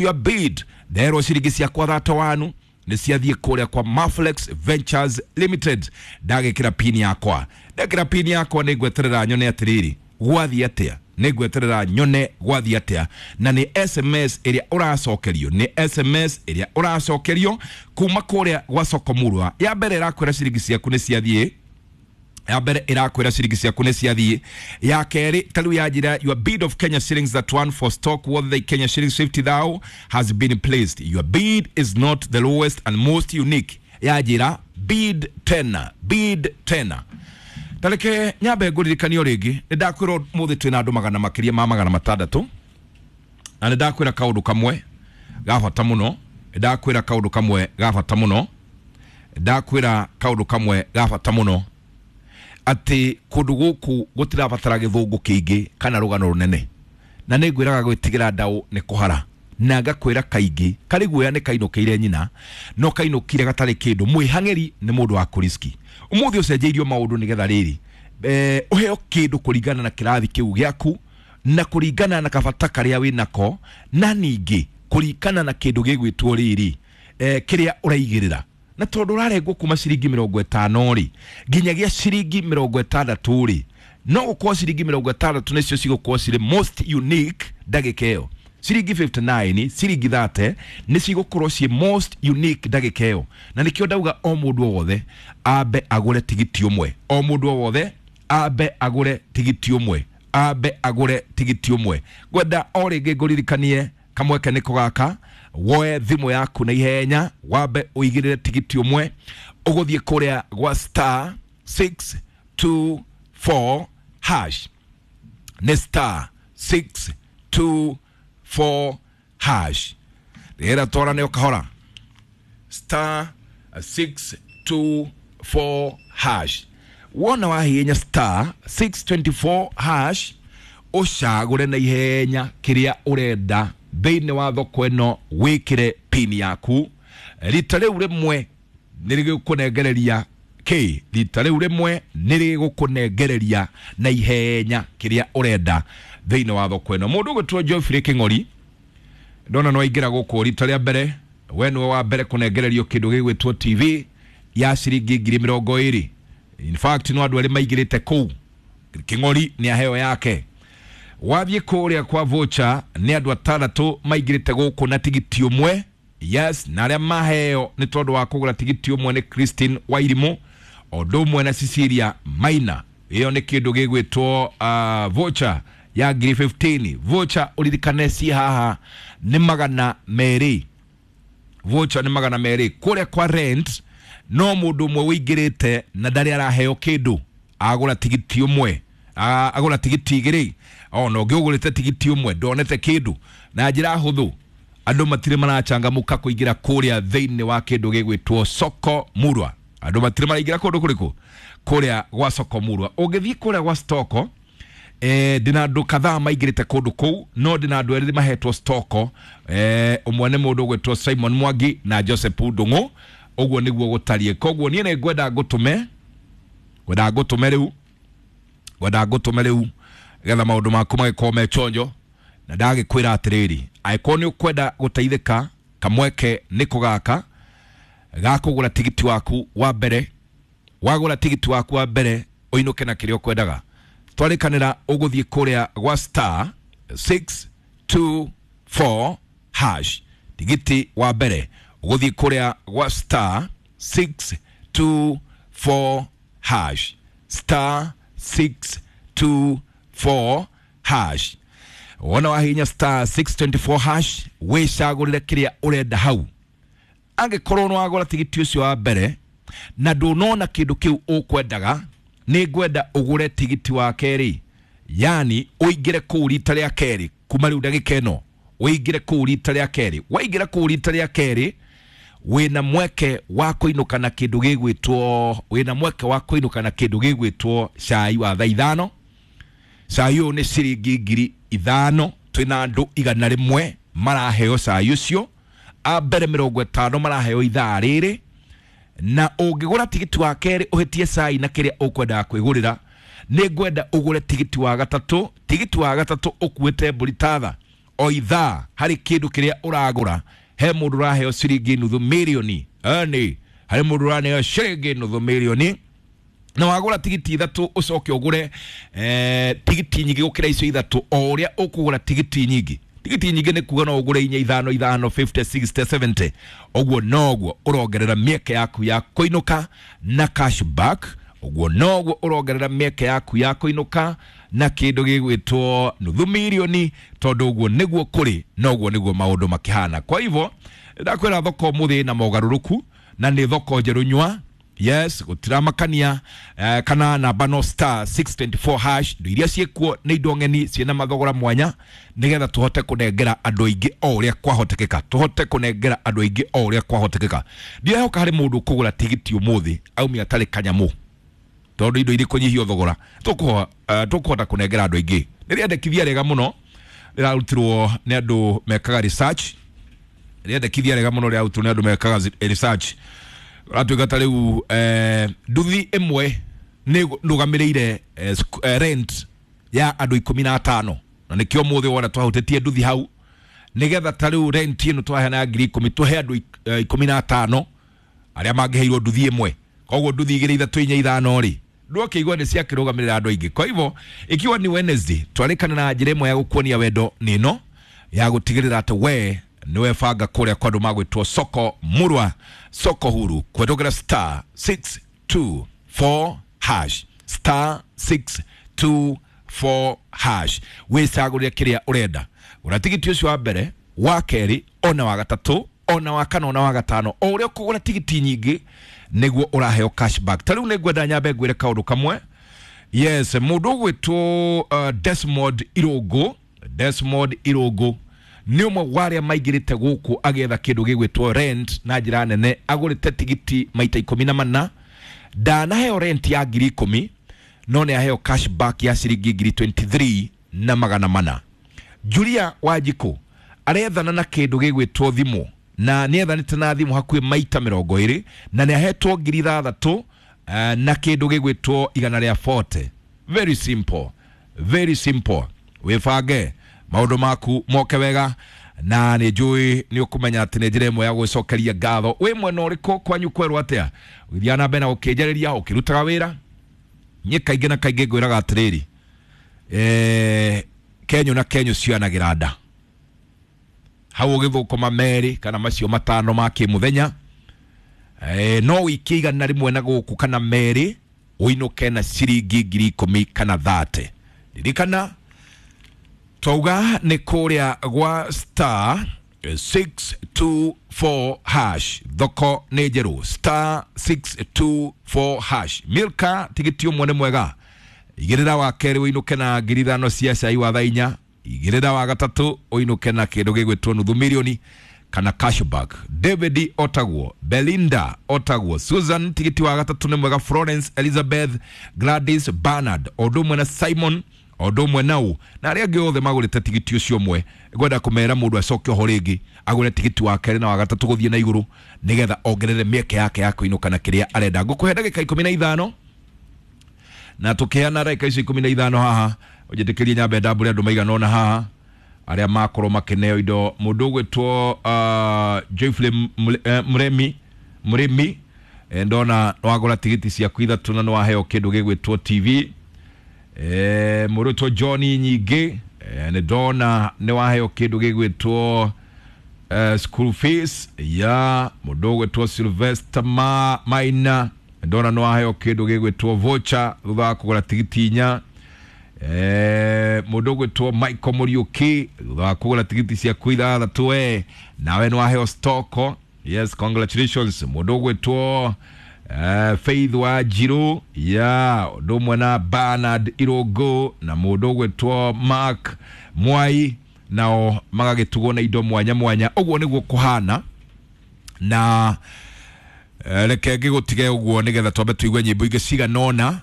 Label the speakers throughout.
Speaker 1: Your bid nderwo ciringi ciakwa 31 nĩ ciathiĩ kũrĩa kwa Maflex Ventures Limited. Ndagĩkĩra pin yakwa, ndekĩra pin yakwa, nĩ ngweterera nyone atĩrĩrĩ gwathiĩ atĩa, nĩ ngweterera nyone gwathiĩ atĩa. Na nĩ SMS ĩrĩa ũracokerio, nĩ SMS ĩrĩa ũracokerio kuma kũrĩa gwa Soko Murwa. Ya mbere ĩrakwĩra ciringi ciaku nĩ ciathiĩ, ya mbere ĩrakwĩra ciringi ciaku nĩ ciathiĩ. Ya kerĩ ta rĩu yanjĩra, "Your bid of Kenya shillings that one for stock worth the Kenya shillings 50,000 has been placed. Your bid is not the lowest and most unique." Yanjĩra bid tena, bid tena. Tareke nyambe ngũririkanio rĩngĩ, nĩ ndakwĩra ũmũthĩ twĩna andũ magana makĩria ma 600, na nĩ ndakwĩra kaũndũ kamwe ga bata mũno, nĩ ndakwĩra kaũndũ kamwe ga bata mũno, ndakwĩra kaũndũ kamwe ga bata mũno, atĩ kũndũ gũkũ gũtirabatara gĩthũngũ kĩingĩ kana rũgano rũnene. Na nĩ ngwĩraga gwĩtigĩra ndaũ nĩ kũhara, na ngakwĩra kaingĩ karĩ guoya nĩ kainũkĩire nyina, no kainũkire gatarĩ kĩndũ. Mwĩhang'ĩri nĩ mũndũ wa kũriski. Ũmũthĩ ũcenjeirio maũndũ nĩgetha rĩrĩ ũheo kĩndũ kũringana na kĩrathi kĩu gĩaku, na kũringana na kabata karĩa wĩnako, na ningĩ kũringana na kĩndũ gĩgwĩtwo rĩrĩ kĩrĩa ũraigĩrĩra. Na tondũ ũrarengwo kuma ciringi 50 rĩ nginyagia ciringi 60 rĩ, no gũkorwo ciringi 60 nĩcio cigũkorwo cirĩ most unique ndagĩka ĩyo. Ciringi 59, ciringi 30 nĩ cigũkorwo ciĩ most unique ndagĩka ĩyo. Na nĩkĩo ndauga o mũndũ o wothe ambe agũre tigiti ũmwe, o mũndũ o wothe ambe agũre tigiti ũmwe, ambe agũre tigiti ũmwe. Ngwenda o rĩngĩ ngũririkanie kamweke nĩko gaka, woe thimũ yaku na ihenya, wambe ũigĩrĩre tigiti ũmwe. Ũgũthiĩ kũrĩa gwa star 624 hash, nĩ star 624 hash. Rĩera twarane o kahora, star 624 hash. Wona wahihinya star 624 hash, ũcagũre na ihenya kĩrĩa ũrenda thĩinĩ wa thoko ĩno, wĩkĩre pin yaku. Rita rĩu rĩmwe nĩ rĩgũkũnengereria k rita rĩu rĩmwe nĩ rĩgũkũnengereria na ihenya kĩrĩa ũrenda thĩinĩ wa thoko ĩno. Mũndũ ũgwĩtwo Geoffrey Kĩng'ori, ndona no aingĩra gũkũ rita rĩa mbere, we nĩwe wa mbere kũnengererio kĩndũ gĩgwĩtwo TV ya ciringi 20,000. In fact, no andũ erĩ maingĩrĩte kũu, Kĩng'ori nĩ aheo yake. Wathiĩ kũrĩa kwa voucher, nĩ andũ atandatũ maingĩrĩte gũkũ na tigiti ũmwe. Yes, na arĩa maheo nĩ tondũ wa kũgũra tigiti ũmwe nĩ Christine Wairimũ o ũndũ ũmwe na Cecilia Maina. Ĩyo nĩ kĩndũ gĩgwĩtwo voucher ya ngiri 15. Voucher ũririkane ci haha nĩ 200, voucher nĩ 200. Kũrĩa kwa rent no mũndũ ũmwe ũingĩrĩte na ndarĩ araheo kĩndũ, agũra tigiti ũmwe, agũra tigiti igĩrĩ. Ona ũngĩ ũgũrĩte tigiti ũmwe ndonete kĩndũ. Na njĩra hũthũ, andũ matirĩ marachangamũka kũingĩra kũrĩa thĩinĩ wa kĩndũ gĩgwĩtwo Soko Murwa. Andũ matirĩ maraingĩra kũndũ kũrĩkũ? Kũrĩa gwa Soko Murwa. Ũngĩthiĩ kũrĩa gwa stoko, ndĩna andũ kadhaa maingĩrĩte kũndũ kũu, no ndĩna andũ erĩ mahetwo stoko. Ũmwe nĩ mũndũ ũgwĩtwo Simon Mwangi na Joseph Ndung'u. Ũguo nĩguo gũtariĩ. Koguo niĩ nĩ ngwenda ngũtũme, ngwenda ngũtũme rĩu, ngwenda ngũtũme rĩu getha maũndũ maku magĩkorwo me chonjo. Na ndagĩkwĩra atĩrĩrĩ, angĩkorwo nĩ ũkwenda gũteithĩka, kamweke nĩko gaka ga kũgũra tigiti waku wa mbere. Wagũra tigiti waku wa mbere, ũinũke na kĩrĩa ũkwendaga. Twarĩkanĩra ũgũthiĩ kũrĩa gwa star 624 hash. Tigiti wa mbere ũgũthiĩ kũrĩa gwa star 624 hash, star 624 hash. Wona wahihinya star 624 hash, wĩcagũrĩre kĩrĩa ũrenda hau. Angĩkorwo nĩ wagũra tigiti ũcio wa mbere na ndũnona kĩndũ kĩu ũkwendaga, nĩ ngwenda ũgũre tigiti wa kerĩ, yani ũingĩre kũu rita rĩa kerĩ. Kuma rĩu ndagĩka ĩno ũingĩre kũu rita rĩa kerĩ. Waingĩra kũu rita rĩa kerĩ, wĩna mweke wa kũinũka na kĩndũ gĩgwĩtwo, wĩna mweke wa kũinũka na kĩndũ gĩgwĩtwo cai wa thaa 5. Cai ũyũ nĩ ciringi 5,000. Twĩna andũ 100 maraheo cai ũcio, a mbere 50 maraheo ithaa rĩrĩ. Na ũngĩgũra tigiti wa kerĩ ũhĩtie cai na kĩrĩa ũkwendaga kwĩgũrĩra, nĩ ngwenda ũgũre tigiti wa gatatũ. Tigiti wa gatatũ ũkuĩte mbũri tatha. O ithaa harĩ kĩndũ kĩrĩa ũragũra, he mũndũ ũraheo ciringi nuthu mirioni. Eni harĩ mũndũ ũraneo ciringi nuthu mirioni, na wagũra tigiti ithatũ ũcoke ũgũre tigiti nyingĩ gũkĩra icio ithatũ. O ũrĩa ũkũgũra tigiti nyingĩ, tigiti nyingĩ nĩ kuga no ũgũre inya, ithano, ithano, 50, 60, 70, ũguo noguo ũrongerera mĩeke yaku ya kũinũka na cashback. Ũguo noguo ũrongerera mĩeke yaku ya kũinũka na kĩndũ gĩgwĩtwo nuthu mirioni, tondũ ũguo nĩguo kũrĩ na ũguo nĩguo maũndũ makĩhana. Kwa hivyo ndakwĩra thoko ũmũthĩ na mogarũrũku, na nĩ thoko njerũ nywa. Yes, gũtiramakania kana namba no star 624 hash. Indo iria ciĩkuo nĩ indo ng'eni ciĩna mathogora mwanya, nĩgetha tũhote kũnengera andũ aingĩ o ũrĩa kwahotekeka, tũhote kũnengera andũ aingĩ o ũrĩa kwahotekeka. Ndirehoka harĩ mũndũ ũkũgũra tigiti ũmũthĩ aumia atarĩ kanyamũ, tondũ indo irĩ kũnyihio thogora, tũkũhota kũnengera andũ aingĩ. Nĩ rĩendekithia rĩega mũno rĩrarutirwo nĩ andũ mekaga research, rĩendekithia rĩega mũno rĩrarutirwo nĩ andũ mekaga research. Ratuĩka ta rĩu nduthi ĩmwe nĩ ndũgamĩrĩire rent ya andũ 15, na nĩkĩo mũthĩ wona twahutĩtie nduthi hau, nĩgetha ta rĩu rent ĩno twaheana ya 10,000 tũhe andũ 15 arĩa mangĩheirwo nduthi ĩmwe. Koguo nduthi igĩrĩ, ithatũ, inya, ithano rĩ, ndũkĩigua nĩ ciakĩrũgamĩrĩra andũ aingĩ. Kwa hivyo ikiwa ni Wednesday, twarĩkana na njĩra ĩmwe ya gũkuonia wendo nĩ ĩno ya gũtigĩrĩra atĩ we nĩwe banga kũrĩa kwa andũ magwĩtwo soko murwa, soko huru, kũhetũkĩra star 624 hash, star 624 hash. Wĩcagũrĩre kĩrĩa ũrenda. Gũra tigiti ũcio wa mbere, wa kerĩ, ona wa gatatũ, ona wa kana, ona wa gatano. O ũrĩa ũkũgũra tigiti nyingĩ nĩguo ũraheo cashback. Ta rĩu nĩ ngwenda nyambe ngwĩre kaũndũ kamwe. Yes, mũndũ ũgwĩtwo Desmond Irũngũ, Desmond Irũngũ nĩ ũmwe wa arĩa maingĩrĩte gũkũ agĩetha kĩndũ gĩgwĩtwo rent na njĩra nene. Agũrĩte tigiti maita 14, ndanaheo rent ya 10,000, no nĩ aheo cashback ya ciringi 23,400. Julia Wanjikũ arethana na kĩndũ gĩgwĩtwo thimũ, na nĩ ethanĩte na thimũ hakuhĩ maita 20, na nĩ ahetwo 6,000 na kĩndũ gĩgwĩtwo 140. Very simple, very simple. Wĩbange maũndũ maku moke wega, na nĩ njũĩ nĩ ũkũmenya atĩ nĩ njĩra ĩmwe ya gwĩcokeria ngatho. Wĩ mwena ũrĩkũ? Kwanyu kwerwo atĩa? Ũgĩthiaga na mbere na gũkĩnjarĩria ũkĩrutaga wĩra. Niĩ kaingĩ na kaingĩ ngwĩraga atĩrĩrĩ, kenyũ na kenyũ cionagĩra nda hau ũgĩthũkũma merĩ kana macio matano ma kĩmũthenya, no wĩikie 100 na gũkũ kana merĩ ũinũke na ciringi 10,000 kana 30. Ririkana twauga nĩ kũrĩa gwa star 624 hash, thoko nĩ njerũ, star 624 hash. Milka, tigiti ũmwe nĩ mwega. Igĩrĩra wa kerĩ ũinũke na 5,000 cia cai wa thaa inya. Igĩrĩra wa gatatũ ũinũke na kĩndũ gĩgwĩtwo nuthu mirioni kana cashback. David otagwo, Belinda otagwo, Susan, tigiti wa gatatũ nĩ mwega. Florence, Elizabeth, Gladys, Bernard, o ũndũ ũmwe na Simon, o ũndũ ũmwe nau na arĩa angĩ othe magũrĩte tigiti ũcio ũmwe. Ngwenda kũmera mũndũ acoke oho rĩngĩ agũre tigiti wa kerĩ na wa gatatũ gũthiĩ na igũrũ, nĩgetha ongerere mĩeke yake ya kũinũka na kĩrĩa arenda. Ngũkũhe ndagĩka 15, na tũkĩheana ndagĩka icio 15 haha, ũnjĩtĩkĩrie nyambe ndambũre andũ maigana ũna haha arĩa makorwo makĩneo indo. Mũndũ ũgwĩtwo Joyfully Muremi, Mũrĩmi, ndona nĩwagũra tigiti ciaku ithatũ na nĩwaheo kĩndũ gĩgwĩtwo TV. Mũndũ ũgwĩtwo John Nyingĩ, nĩ ndona nĩwaheo kĩndũ gĩgwĩtwo school fees ya. Mũndũ ũgwĩtwo Sylvester Maina, ndona nĩwaheo kĩndũ gĩgwĩtwo voucher thutha wa kũgũra tigiti inya. Mũndũ ũgwĩtwo Michael Mũriũki, thutha wa kũgũra tigiti ciaku ithathatũ, we nawe nĩwaheo stoko. Yes, congratulations. Mũndũ ũgwĩtwo Faith wa Njiru ya, ũndũ ũmwe na Bernard Irũngũ na mũndũ ũgwĩtwo Mark Mwai, nao magagĩtugwo na indo mwanya mwanya. Ũguo nĩguo kũhana, na reke ngĩgũtige ũguo nĩgetha twambe tũigue nyĩmbo ingĩ cigana ũna.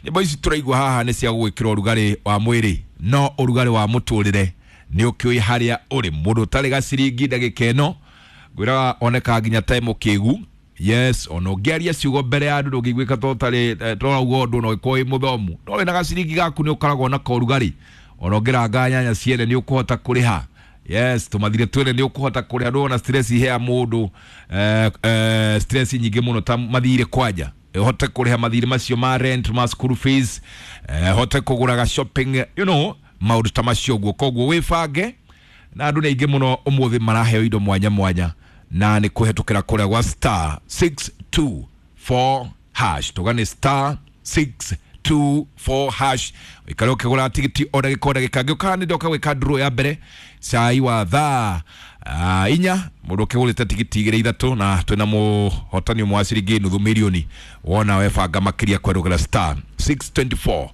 Speaker 1: Nyĩmbo ici tũraigua haha nĩ cia gũgwĩkĩra ũrugarĩ wa mwĩrĩ, no ũrugarĩ wa mũtũrĩre nĩ ũkĩũĩ harĩa ũrĩ. Mũndũ ũtarĩ gaciringi ndagĩka ĩno ngwĩraga oneka nginya ta mũkĩgu. Yes, ona ũngĩaria ciugo mbere ya andũ ndũngĩiguĩka to ũtarĩ tũrauga ũndũ, no ũgĩkorwo wĩ mũthomu, no wĩna gaciringi gaku nĩ ũkoragwo na korugarĩ. Ona ũngĩranga nyanya ciene nĩ ũkũhota kũrĩha. Yes, tumathire twene nĩ ũkũhota kũrĩha, ndũrona stress ihea mũndũ stress nyingĩ mũno ta mathirĩ kwanja. Ũhote kũrĩha mathirĩ macio ma rent, ma school fees, hote kũgũraga shopping, you know, maũndũ ta macio ũguo. Koguo wĩbange, na andũ nĩ aingĩ mũno ũmũthĩ maraheo indo mwanya mwanya, na nĩ kũhetũkĩra kũrĩa gwa star 624 hash. Tuga nĩ star 624 hash, ũikare ũkĩgũra tigiti o ndagĩka o ndagĩka. Ngĩũka nĩ ndoka gwĩka draw ya mbere cai wa thaa 4, mũndũ ũkĩgũrĩte tigiti 2 3, na twĩna mũhotani ũmwe wa ciringi nuthu milioni. Wona webanga makĩria kwerũgĩra star 624.